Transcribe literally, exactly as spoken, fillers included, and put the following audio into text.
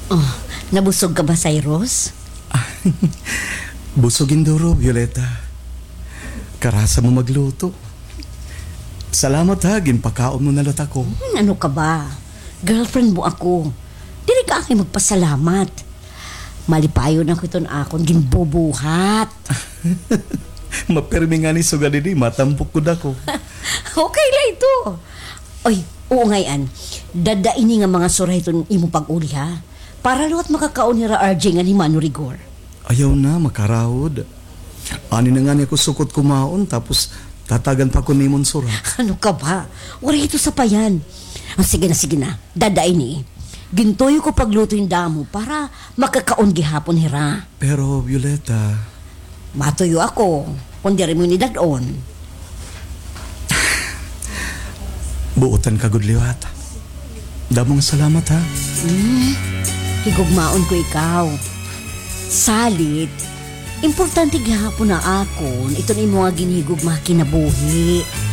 Oh, nabusog ka ba, Cyrus? Busog hin duro, Violeta. Karasa mo magluto. Salamat ha, ginpakaon mo na liwat ako. Hmm, ano ka ba? Girlfriend mo ako. Diri ka akon magpasalamat. Malipayon ako hiton akon ginbubuhat. Mapirmi ngani sugad hini, matampok gud ako. Okay la ito. Oy, oo ngay-an. Dad-a ini nga mga sura hiton imo pag-uli, ha? Para liwat makakaon hira R J ngan hi Mano Rigor. Ayaw na, makarahod. Ani na ngani ako sukot kumaon, tapos tatagan pa ko nimo hin sura. Ano ka ba? Waray ito sapayan. Ah, sige na, sige na. Dad-a ini. Gintuyo ko pagluto hin damo para makakaon gihapon hira. Pero, Violeta. Matuyo ako, kon diri mo ini dad-on. Buotan ka gud liwat. Damo nga salamat, ha? Hmm, higugmaon ko ikaw. Salit, importante gihapon ha akon iton imo nga ginhigugma ha kinabuhi.